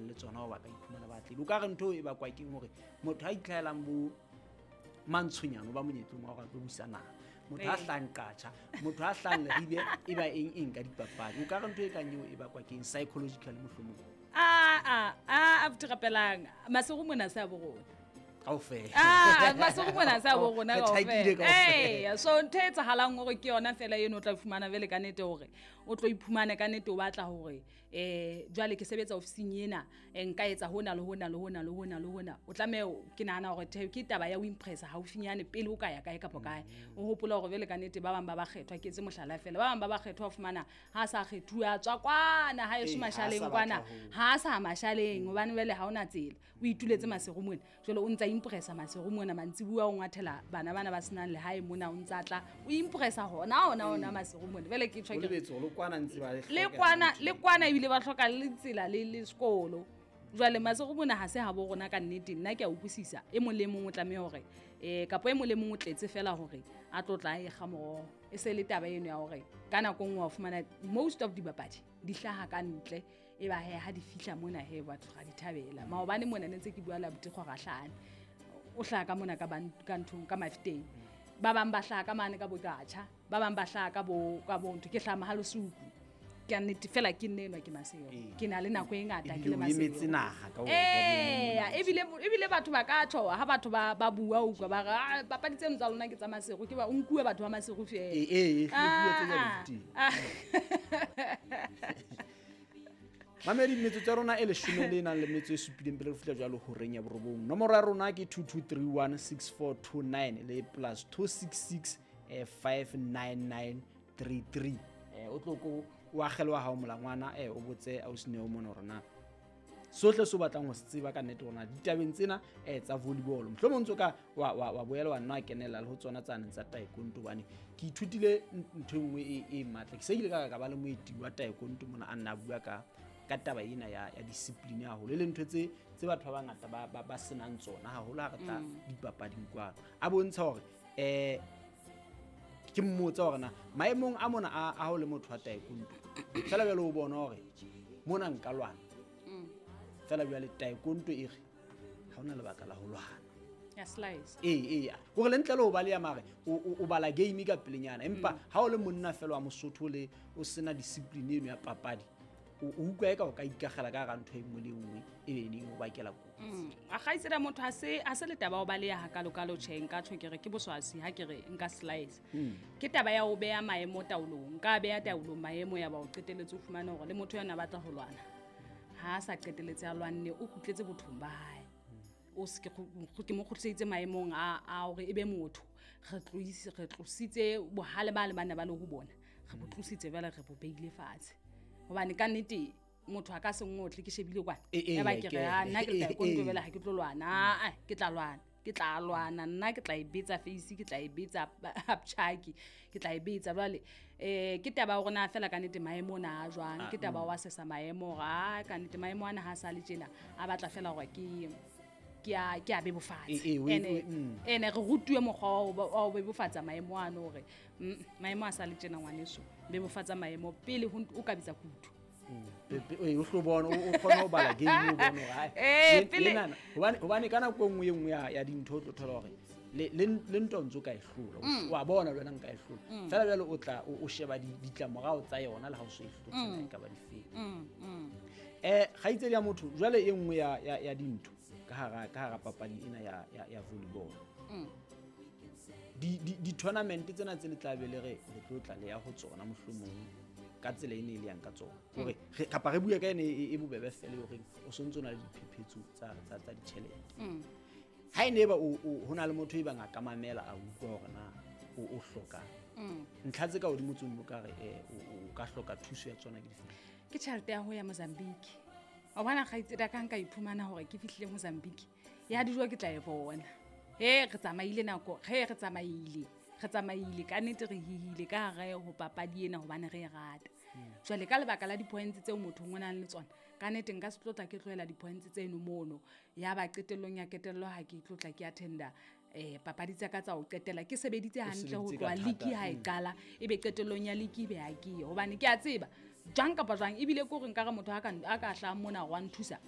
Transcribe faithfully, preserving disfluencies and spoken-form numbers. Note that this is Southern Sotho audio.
nang le tsona hore ba ka iphumana ba atlehile. O ka re ntho e bakwa keng hore motho a itlhahelang bo mantshonyane o ba monyetleng wa hore a tlo busa naha, motho a Ee. hlahang Qacha, motho a hlahang Leribe e ba eng eng ka dipapadi. O ka re ntho e kang eo e bakwa keng psychologically mohlomong? A a a abuti Rapelang, Maseru mona se a bo rona. Kaofela. Ah, Maseru mona se a bo rona Re tjhakile kaofela. kaofela. Ee, so ntho e etsahalang hore ke yona fela eno o tla fumana jwale ka nnete hore o tlo iphumane ka nnete o batla hore eh jwale ke sebetsa ofising ena, eh, nka etsa hona le hona le hona le hona le hona. O tlameha, ke nahana hore the- ke taba ya ho impressa haufinyane pele o ka ya kae kapa kae. O hopola hore jwale ka nnete ba bang ba bakgethwa, ke etse mohlala fela, ba bang ba bakgethwa o fumana ha sa kgethuwa a tswa kwana ha eso Ee, ha a sa mashaleng batla kwana, ho- ha a sa mashaleng hobane jwale ha hona tsela. O ituletse Maseru mona, jwale o ntsa impressa Maseru mona mantsibuya o ngwathela bana bana ba senang lehae mona, o ntsa tla o impressa hona hona hona Maseru mona. Jwale ke tjho O ke re lebetse hore le kwana ntse ba le le hloka kwana, ntho. le kwana ebile ba hloka le tsela le le sekolo. Jwale Maseru mona ha se ha bo rona ka nnete, nna ke a utlwisisa. E mong le mong o tlameha hore eh kapa e mong le mong o tletse fela hore a tlo tla e kga moroho. E se le taba eno ya hore ka nako e nngwe wa fumana most of dibapadi di hlaha ka ntle, e ba he ha di fihla mona he batho ra di thabela. Maobane mona ne ntse ke bua le abuti Kgorahlane, o hlaha ka mona ka ban-, ka nthong, ka Mafeteng. Ba bang ba hlaha ka mane ka Boqatjha, ba bang ba hlaha ka bo, ka bo ntho, ke hlaha Mohalesuku. Ke a nnete fela ke nne enwa ke Maseru. Ee. Ke na le nako e ngata ke Ebile le o Maseru. emetse naha ka hore Ee, ka bo ebile, ebile batho ba ka tjho ha batho ba, ba bua o utlwa ba re, ah, papadi tseno tsa lona ke tsa Maseru, ke ba o nkuwe batho ba Maseru feela. Ee, ee, ee, puo tse jwalo Ah, di teng. ah. Mamedi, metsotso ya rona e leshome le nang le metso e supileng pele re fihla jwalo horeng ya borobong. Nomoro ya rona ke two two three one six four two nine le plus two six six, eh, five nine nine three three. Eh, o tlo ko o akgele wa hao molangwana, eh, o botse ausi Neo mona hore na sohle se o batlang ho se tseba ka nnete hore na ditabeng tsena, eh, tsa volleyball. Mohlomong ntso ka wa, wa, wa boela wa nna wa kenella le ho tsona tsane tsa taekwondo, hobane ke ithutile n-, ntho e nngwe e, e matla. Ke se ke ile ka, ka ba le moeti wa taekwondo mona a nna a bua ka, ka taba ena ya, ya discipline haholo, e leng ntho tse, tse batho ba bangata ba, ba, ba senang tsona haholo ha re tla Mm. dipapading kwano. A bontsha hore, eh, ke mmotsa hore na maemong a mona a, a ho le motho wa taekwondo, feela jwale o bona hore mona nka lwana. Mm. Feela jwale taekwondo e re ha hona lebaka la ho lwana. Ya slice. Ee, ee, hore le ntle le ho baleha mare, o, o, o bala game ka pelenyana, empa Mm. ha o le monna feela wa Mosotho le o sena discipline eno ya papadi, o, o utlwa eka o ka ikakgela ka hara ntho e nngwe le e nngwe e be neng o bakela kotsi. Mm. A kgaitsedi ya motho ha se, ha se le taba ya ho baleha hakalokalo tjhe, nka tjho ke re ke boswasi ha ke re nka slice. Mm. Ke taba ya ho beha maemo taolong. Nka beha taolong maemo ya ba o qetelletse o fumane hore le motho yena a batla ho lwana. Ha a sa qetelletse a lwanne, o kgutletse bothong ba hae. O se ke kgu-, ke mo kgutliseditse maemong a, a hore e be motho. Re tloisi-, re tlositse bohale ba le bana ba le ho bona. Re bo tlositse jwale re bo beile fatshe. Hobane ka nnete motho a ka se ngotle ke shebile kwana. E, e, Ya ba e, ke ke re, ah, nna ke e, tla e, taekwondo e. jwale ha ke tlo lwana. Ah, ah, ke tla lwana. Ke tla lwana, nna ke tla e betsa face, ke tla e betsa upchaki, ke tla e betsa jwale. Eh, ke taba ya hore na fela ka nnete maemo ona a jwang, Ah, ke taba mm. wa sesa maemo hore, ah, ka nnete maemo ana ha sa le tjena, a batla fela hore ke, ke a, ke a bebofatse. E, e, o e, Ene, o e, mm. ene re rutuwe mokgwa wa ho ba-, wa ho bebofatsa maemo ano hore, mm, maemo a sa le tjena ngwaneso, bebofatsa maemo pele ho nt-, o ka bitsa kutu. Mm. Pe-, pe-, ee, o hlo bone, o, o kgone ho bala game, o bone hore, hai, Eh, le-, pele lenana, hobane, hobane ka nako e nngwe e nngwe ya, ya dintho o tlo thola hore le, le, le ntwa ntse o ka e hlola, o Mm. wa bona le wena nka e hlola. Mm. Feela jwale o tla, o, o sheba di-, ditlamorao tsa yona le ha o so e hlotse, Mm. na e ka ba difeng. Mm, mm. Eh, kgaitsedi ya motho, jwale e nngwe ya, ya, ya dintho ka hara, ka hara papadi ena ya, ya, ya volleyball. Mm. Di, di, di-tournament tsena tse le tla be le re, re tlo tla le ya ho tsona mohlomong ka tsela e ne e le yang ka tsona. Mm. Hore re, kapa re bue ka ene e, e bobebe fela hore o sontso o na le diphephetso tsa, tsa, tsa ditjhelete. Mm. Ha e ne ba o, o, ho na le motho e bang a ka mamela a utlwa hore na o, o hloka. Mm. Ntlha tse ka hodimo tseo o ka re, eh, o, o ka hloka thuso ya tsona ke dife? Ke tjhelete ya ho ya Mozambique. Wa bona kgaitsedi ya ka nka iphumana hore ke fihlile Mozambique, ya dijo ke tla e bona. He, re tsamaile nako, he, re tsamaile. Re tsamaile, ka nnete re hihile ka hare ho papadi ena hobane re e rata. Mm. Jwale ka lebaka la di-points tseo motho o nang le tsona, ka nnete nka se tlo tla ke tlohela di-points tseno mono. Ya ba qetellong ya qetello ha ke tlo tla ke attenda, eh, papadi tsa ka tsa ho qetela. Ke sebeditse O hantle ho sebeditse ka tloha thata, league ha e mm. qala, ebe qetellong ya league ebe ha ke ye. Hobane ke a tseba, jwang kapa jwang, ebile ke hore nkare motho a ka, a ka hlahang mona wa nthusa,